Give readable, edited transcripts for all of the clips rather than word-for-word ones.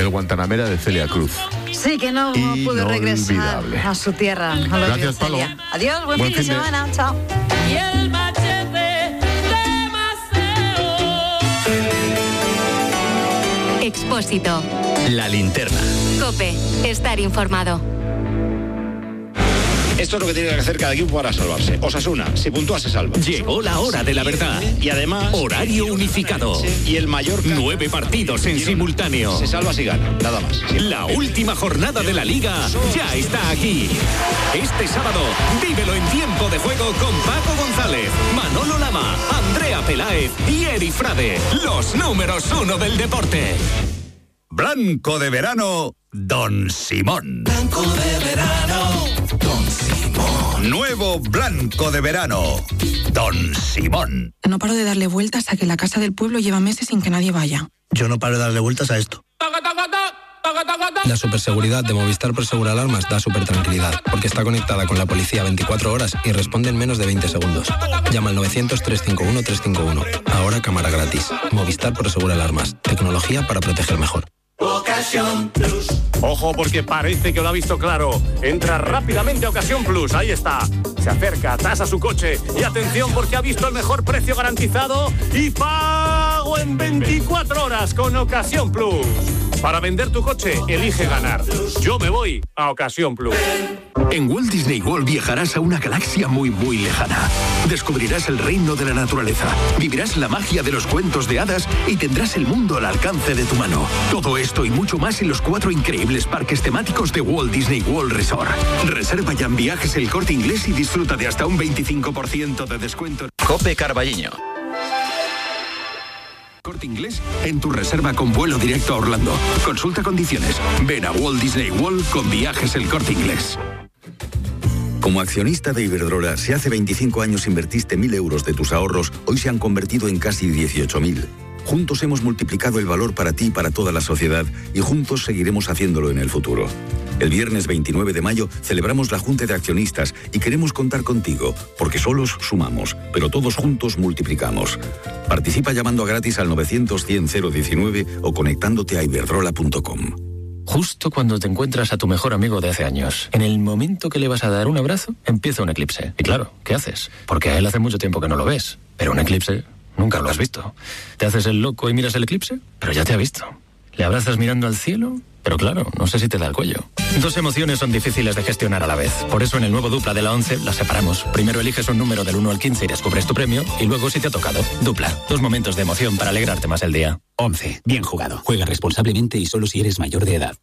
el Guantanamera de Celia Cruz. Sí, que no pudo regresar a su tierra. Gracias, Palo. Adiós, buen fin de semana. Chao. Y el machete de Maceo. Expósito. La linterna. COPE. Estar informado. Esto es lo que tiene que hacer cada equipo para salvarse. Osasuna, si puntúa se salva. Llegó la hora de la verdad. Y además... Horario unificado. Y el Mallorca... 9 partidos en simultáneo. Se salva si gana, nada más. La última jornada de la Liga ya está aquí. Este sábado, vívelo en tiempo de juego con Paco González, Manolo Lama, Andrea Peláez y Eri Frade. Los números 1 del deporte. Blanco de verano, Don Simón. Blanco de verano, Don Simón. Nuevo blanco de verano, Don Simón. No paro de darle vueltas a que la casa del pueblo lleva meses sin que nadie vaya. Yo no paro de darle vueltas a esto. La superseguridad de Movistar Prosegur Alarmas da súper tranquilidad, porque está conectada con la policía 24 horas y responde en menos de 20 segundos. Llama al 900-351-351. Ahora cámara gratis. Movistar Prosegur Alarmas. Tecnología para proteger mejor. Ocasión Plus. Ojo, porque parece que lo ha visto claro. Entra rápidamente a Ocasión Plus. Ahí está. Se acerca, tasa su coche. Y atención, porque ha visto el mejor precio garantizado y pago en 24 horas con Ocasión Plus. Para vender tu coche, elige ganar. Yo me voy a Ocasión Plus. En Walt Disney World viajarás a una galaxia muy, muy lejana. Descubrirás el reino de la naturaleza, vivirás la magia de los cuentos de hadas y tendrás el mundo al alcance de tu mano. Todo esto y mucho más en los 4 increíbles parques temáticos de Walt Disney World Resort. Reserva ya en Viajes El Corte Inglés y disfruta de hasta un 25% de descuento. Cope Carballiño. Corte Inglés en tu reserva con vuelo directo a Orlando. Consulta condiciones. Ven a Walt Disney World con Viajes El Corte Inglés. Como accionista de Iberdrola, si hace 25 años invertiste 1.000 euros de tus ahorros, hoy se han convertido en casi 18.000. Juntos hemos multiplicado el valor para ti y para toda la sociedad y juntos seguiremos haciéndolo en el futuro. El viernes 29 de mayo celebramos la Junta de Accionistas y queremos contar contigo, porque solos sumamos, pero todos juntos multiplicamos. Participa llamando a gratis al 900-100-019 o conectándote a iberdrola.com. Justo cuando te encuentras a tu mejor amigo de hace años, en el momento que le vas a dar un abrazo, empieza un eclipse. Y claro, ¿qué haces? Porque a él hace mucho tiempo que no lo ves, pero un eclipse nunca lo has visto. ¿Te haces el loco y miras el eclipse? Pero ya te ha visto. ¿Le abrazas mirando al cielo? Pero claro, no sé si te da el cuello. Dos emociones son difíciles de gestionar a la vez. Por eso en el nuevo Dupla de la 11 las separamos. Primero eliges un número del 1 al 15 y descubres tu premio. Y luego si te ha tocado. Dupla. 2 momentos de emoción para alegrarte más el día. 11. Bien jugado. Juega responsablemente y solo si eres mayor de edad.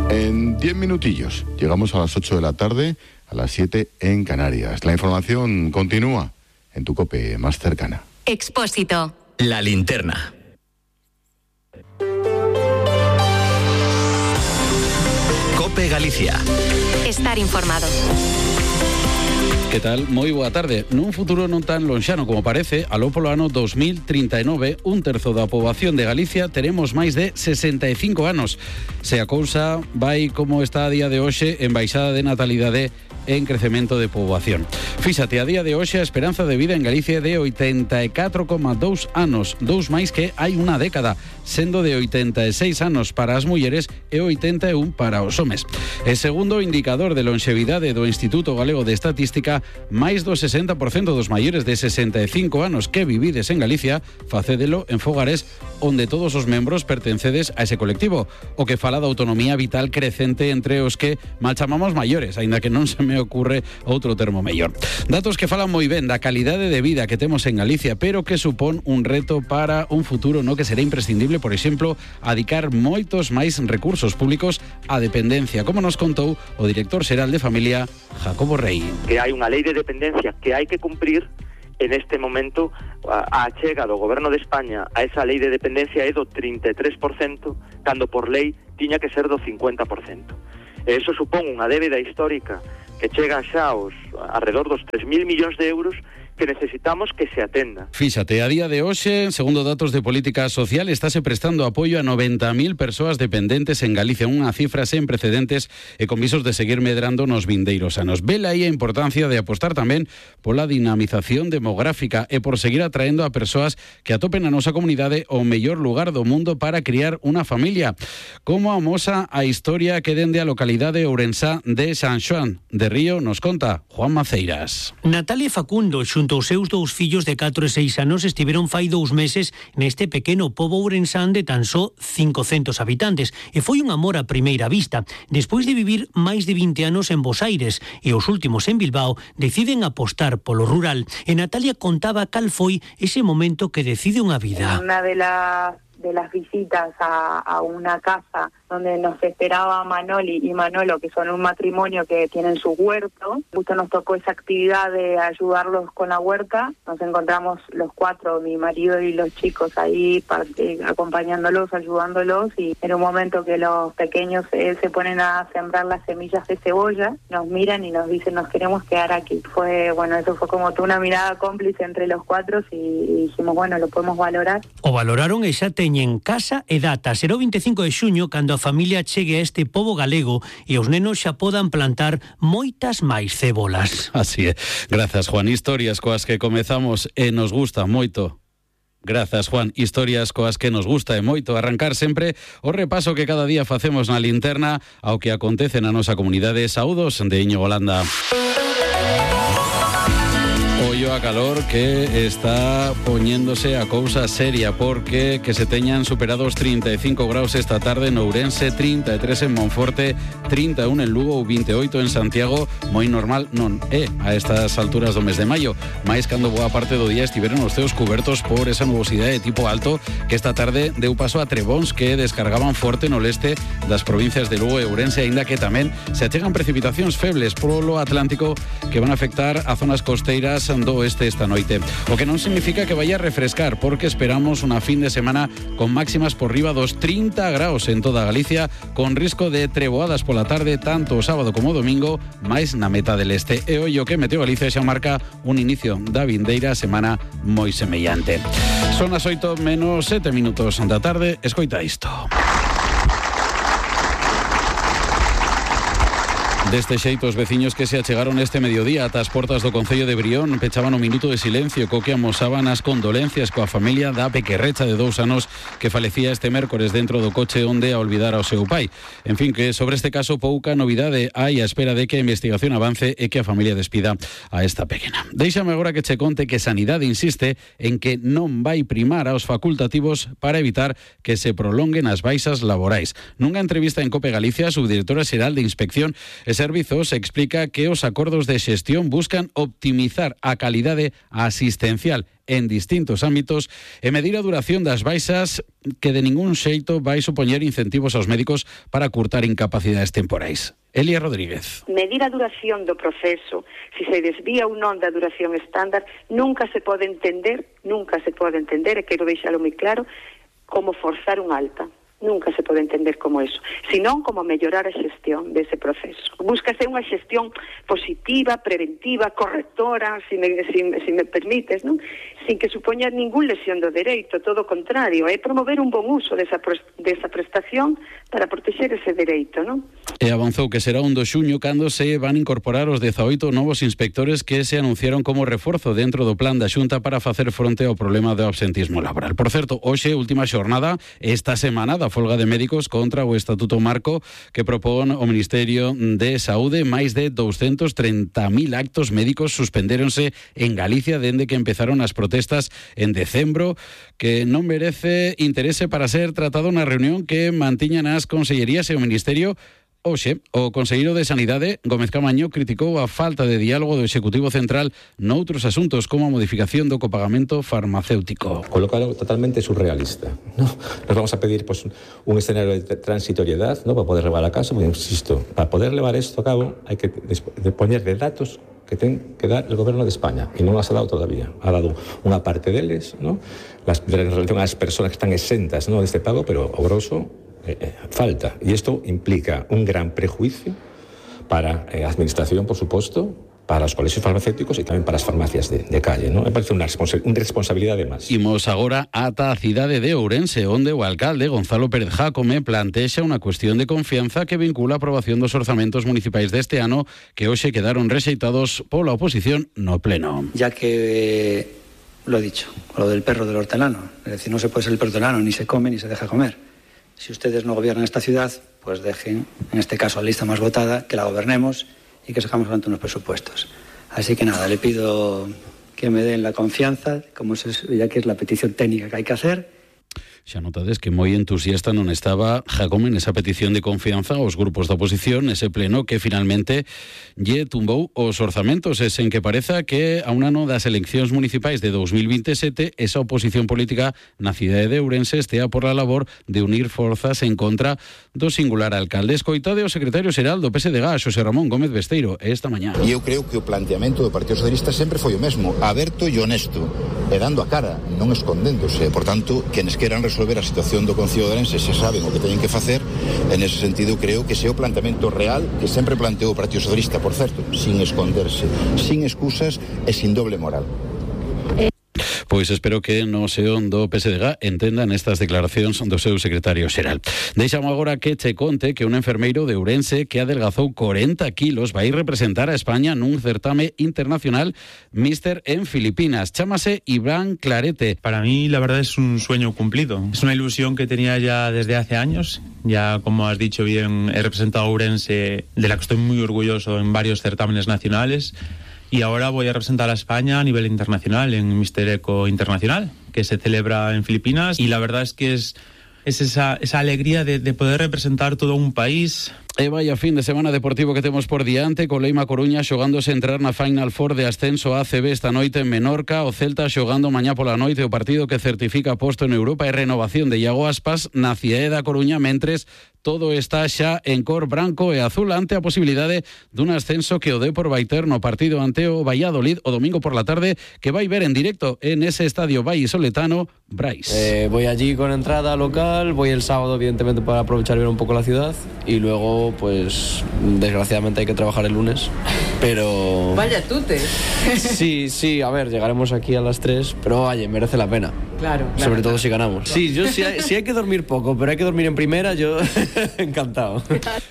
En 10 minutillos llegamos a las 8 de la tarde, a las 7 en Canarias. La información continúa en tu COPE más cercana. Expósito. La linterna. COPE Galicia. Estar informado. Que tal? Moi boa tarde. Nun futuro non tan lonxano como parece, aló polo ano 2039, un terzo da poboación de Galicia teremos máis de 65 anos. Se a cousa vai como está a día de hoxe en baixada de natalidade en crecemento de poboación. Fíxate, a día de hoxe a esperanza de vida en Galicia é de 84,2 anos, 2 máis que hai unha década, sendo de 86 anos para as mulleres e 81 para os homes. E segundo o indicador de longevidade do Instituto Galego de Estatística, máis do 60% dos maiores de 65 anos que vivides en Galicia facédelo en fogares onde todos os membros pertencedes a ese colectivo, o que fala da autonomía vital crecente entre os que mal chamamos maiores, aínda que non se me ocurre outro termo mellor. Datos que falan moi ben da calidade de vida que temos en Galicia, pero que supón un reto para un futuro no que será imprescindible, por exemplo, adicar moitos máis recursos públicos á dependencia, como nos contou o director xeral de Familia, Jacobo Rey. Que hai unha lei de dependencia que hai que cumprir. En este momento a achega do Goberno de España a esa lei de dependencia é do 33%, cando por lei tiña que ser do 50%. E iso supón unha débeda histórica que chega xa aos alrededor dos 3.000 millóns de euros que necesitamos que se atenda. Fíxate, a día de hoxe, segundo datos de política social, estáse prestando apoio a 90.000 persoas dependentes en Galicia, unha cifra sen precedentes e con visos de seguir medrando nos vindeiros anos. Vela aí a importancia de apostar tamén pola dinamización demográfica e por seguir atraendo a persoas que atopen a nosa comunidade o mellor lugar do mundo para criar unha familia. Como amosa a historia que dende a localidade ourensá de San Xoán de Río nos conta Juan Maceiras. Natalia e Facundo, xunto aos seus dous fillos de 4 e 6 anos, estiveron fai 2 meses neste pequeno pobo ourensán de tan só 500 habitantes e foi un amor a primeira vista. Despois de vivir máis de 20 anos en Bos Aires e os últimos en Bilbao, deciden apostar polo rural. E Natalia contaba cal foi ese momento que decide unha vida. Una de las visitas a una casa donde nos esperaba Manoli y Manolo, que son un matrimonio que tienen su huerto. Justo nos tocó esa actividad de ayudarlos con la huerta. Nos encontramos los 4, mi marido y los chicos, ahí acompañándolos, ayudándolos, y en un momento que los pequeños se ponen a sembrar las semillas de cebolla, nos miran y nos dicen, nos queremos quedar aquí. Eso fue como una mirada cómplice entre los 4 y dijimos, bueno, lo podemos valorar. O valoraron e xa teñen casa e data. Será o 25 de xuño cando a familia chegue a este pobo galego e os nenos xa podan plantar moitas máis cebolas. Así é. Grazas, Juan. Historias coas que comezamos e nos gusta moito. Grazas, Juan. Historias coas que nos gusta e moito. Arrancar sempre o repaso que cada día facemos na linterna ao que acontece na nosa comunidade. Saúdos de Íñigo Holanda. Ollo a calor que está poñéndose a cousa seria, porque que se teñan superado os 35 graus esta tarde en Ourense, 33 en Monforte, 31 en Lugo ou 28 en Santiago. Moi normal non é a estas alturas do mes de maio, máis cando boa parte do día estiveron os ceos cubertos por esa nubosidade de tipo alto que esta tarde deu paso a trebóns que descargaban forte no leste das provincias de Lugo e Ourense, aínda que tamén se achegan precipitacións febles polo Atlántico que van a afectar a zonas costeiras do oeste esta noite. O que non significa que vaya a refrescar, porque esperamos unha fin de semana con máximas por riba dos 30 graus en toda Galicia, con risco de treboadas pola tarde tanto o sábado como o domingo, máis na meta del este. E ollo que Meteo Galicia xa marca un inicio da vindeira semana moi semellante. Son as 8 menos 7 minutos da tarde. Escoita isto. Deste xeito, os veciños que se achegaron este mediodía ata as portas do Concello de Brión pechaban un minuto de silencio co que amosaban as condolencias coa familia da pequerrecha de 2 anos que falecía este mércores dentro do coche onde a olvidar ao seu pai. En fin, que sobre este caso pouca novidade hai a espera de que a investigación avance e que a familia despida a esta pequena. Déixame agora que che conte que Sanidade insiste en que non vai primar aos facultativos para evitar que se prolonguen as baixas laborais. Nunha entrevista en COPE Galicia, a subdirectora xeral de Inspección Servizos explica que os acordos de xestión buscan optimizar a calidade asistencial en distintos ámbitos e medir a duración das baixas, que de ningún xeito vai supoñer incentivos aos médicos para curtar incapacidades temporais. Elia Rodríguez. Medir a duración do proceso, se se desvía ou non da duración estándar, nunca se pode entender, e quero deixalo moi claro, como forzar un alta. Nunca se pode entender como eso, senón como mellorar a xestión dese proceso. Búscase unha xestión positiva, preventiva, correctora, se me permites, non? Sin que supoña ningún lesión do dereito, todo o contrario, é promover un bon uso desa prestación para protexer ese dereito, non? E avanzou que será 1 de xuño cando se van incorporar os 18 novos inspectores que se anunciaron como reforzo dentro do plan da Xunta para facer fronte ao problema do absentismo laboral. Por certo, hoxe, última xornada, esta semana da folga de médicos contra o Estatuto Marco que propón o Ministerio de Saúde. Máis de 230.000 actos médicos suspendéronse en Galicia dende que empezaron as protestas en decembro, que non merece interese para ser tratado na reunión que mantiñan as consellerías e o Ministerio. Hoxe, o conselleiro de Sanidade, Gómez Camaño, criticou a falta de diálogo do Executivo Central noutros asuntos como a modificación do copagamento farmacéutico. Colocaron totalmente surrealista, ¿no? Nos vamos a pedir un escenario de transitoriedad, ¿no?, para poder levar a caso, porque, insisto, para poder levar esto a cabo hai que dispoñer de datos que ten que dar el Gobierno de España, e non as ha dado todavía. Ha dado unha parte deles, ¿no?, en relación ás persoas que están exentas, ¿no?, deste pago, pero o grosso falta. Y esto implica un gran prejuicio para a Administración, por supuesto, para los colegios farmacéuticos y también para las farmacias de calle, ¿no? Me parece una responsabilidad de más. Imos agora ata a cidade de Ourense, onde o alcalde Gonzalo Pérez Jácome plantexa unha cuestión de confianza que vincula a aprobación dos orzamentos municipais deste ano que hoxe quedaron rexeitados pola oposición no pleno. Ya que, lo he dicho, lo del perro del hortelano, es decir, no se puede ser el perro del hortelano, ni se come ni se deja comer. Si ustedes no gobiernan esta ciudad, pues dejen, en este caso, la lista más votada, que la gobernemos y que sacamos adelante unos presupuestos. Así que nada, le pido que me den la confianza, ya que es la petición técnica que hay que hacer. Xa notades que moi entusiasta non estaba Jácome nesa petición de confianza aos grupos da oposición nese pleno que finalmente lle tumbou os orzamentos e sen que pareza que a un ano das eleccións municipais de 2027 esa oposición política na cidade de Ourense estea por la labor de unir forzas en contra do singular alcalde. Escoitade o secretario xeral do PSDG, Xosé Ramón Gómez Besteiro, esta mañá. E eu creo que o planteamento do Partido Socialista sempre foi o mesmo, aberto e honesto, e dando a cara, non escondéndose. Por tanto, quenes queran resolver a situación do Concello de Ourense se saben o que teñen que facer. En ese sentido, creo que ese é o planteamento real que sempre planteou o Partido Socialista, por certo, sin esconderse, sin excusas e sin doble moral. Pois espero que no seón do PSDG entendan estas declaracións do seu secretario xeral. Deixamos agora que che conte que un enfermeiro de Ourense que adelgazou 40 kilos vai representar a España nun certame internacional Míster en Filipinas. Chámase Iván Clarete. Para mí, la verdad, es un sueño cumplido. Es una ilusión que tenía ya desde hace años. Ya, como has dicho bien, he representado a Ourense, de la que estoy muy orgulloso en varios certámenes nacionales. Y ahora voy a representar a España a nivel internacional, en Mister Eco Internacional, que se celebra en Filipinas. Y la verdad es que es esa alegría de poder representar todo un país. E vaya fin de semana deportivo que temos por diante, co Leima Coruña xogándose entrar na Final Four de ascenso a ACB esta noite en Menorca, o Celta xogando mañá pola noite o partido que certifica posto en Europa e renovación de Iago Aspas na cidade da Coruña, mentres todo está xa en cor branco e azul ante a posibilidade dun ascenso que o Depor vai ter no partido ante o Valladolid o domingo por la tarde, que vai ver en directo en ese estadio vallisoletano Brais. Voy allí con entrada local, voy el sábado evidentemente para aprovechar y ver un poco la ciudad y luego pues desgraciadamente hay que trabajar el lunes, pero... Vaya tute. Sí, a ver, llegaremos aquí a las 3, pero oye, merece la pena. Claro. Sobre todo si ganamos. Sí, si hay que dormir poco, pero hay que dormir en primera, yo encantado.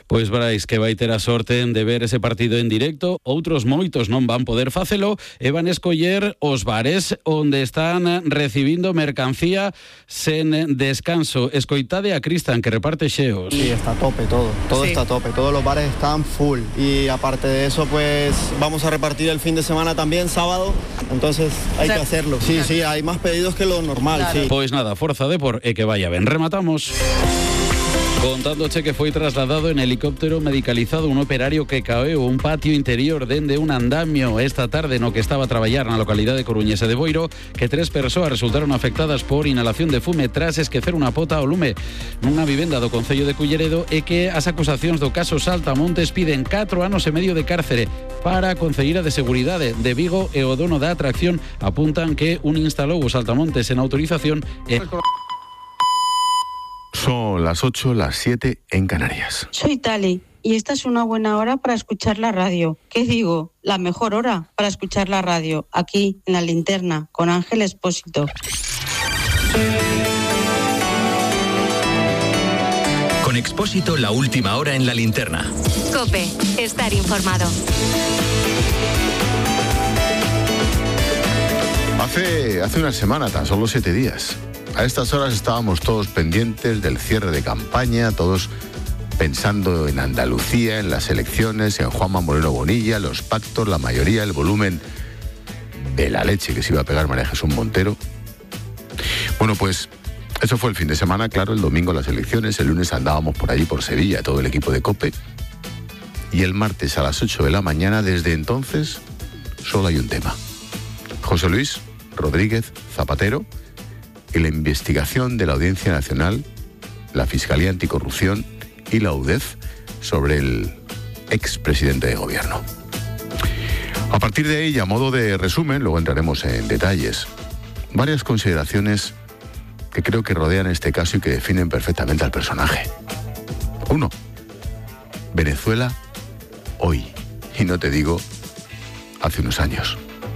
Pois Brais que vai ter a sorte de ver ese partido en directo, outros moitos non van poder facelo e van escoller os bares onde están recibindo mercancía sen descanso. Escoitade a Cristian que reparte xeos. Sí, está a tope todo sí. Está a tope, todos los bares están full y aparte de eso pues vamos a repartir el fin de semana también, sábado, entonces hay que hacerlo. Sí, hay más pedidos que lo normal, claro. Sí. Pois nada, forza Depor e que vaya ben. Rematamos contándoche que foi trasladado en helicóptero medicalizado un operario que caeu un patio interior dende un andamio esta tarde no que estaba a traballar na localidade coruñesa de Boiro, que 3 persoas resultaron afectadas por inhalación de fume tras esquecer unha pota ao lume nunha vivenda do Concello de Culleredo e que as acusacións do caso Saltamontes piden 4 anos e medio de cárcere para a Concelleira de Seguridade de Vigo e o dono da atracción apuntan que un instalou o Saltamontes en autorización e... Son las 8, las 7 en Canarias. Soy Tali y esta es una buena hora para escuchar la radio. ¿Qué digo? La mejor hora para escuchar la radio, aquí en La Linterna, con Ángel Expósito. Con Expósito, la última hora en La Linterna. COPE, estar informado. Hace una semana, tan solo 7 días. A estas horas estábamos todos pendientes del cierre de campaña, todos pensando en Andalucía, en las elecciones, en Juanma Moreno Bonilla, los pactos, la mayoría, el volumen de la leche que se iba a pegar María Jesús Montero. Bueno, pues eso fue el fin de semana, claro, el domingo las elecciones, el lunes andábamos por allí, por Sevilla, todo el equipo de COPE, y el martes a las 8 de la mañana, desde entonces, solo hay un tema. José Luis Rodríguez Zapatero y la investigación de la Audiencia Nacional, la Fiscalía Anticorrupción y la UDEF sobre el expresidente de gobierno. A partir de ahí, a modo de resumen, luego entraremos en detalles, varias consideraciones que creo que rodean este caso y que definen perfectamente al personaje. 1. Venezuela hoy. Y no te digo hace unos años.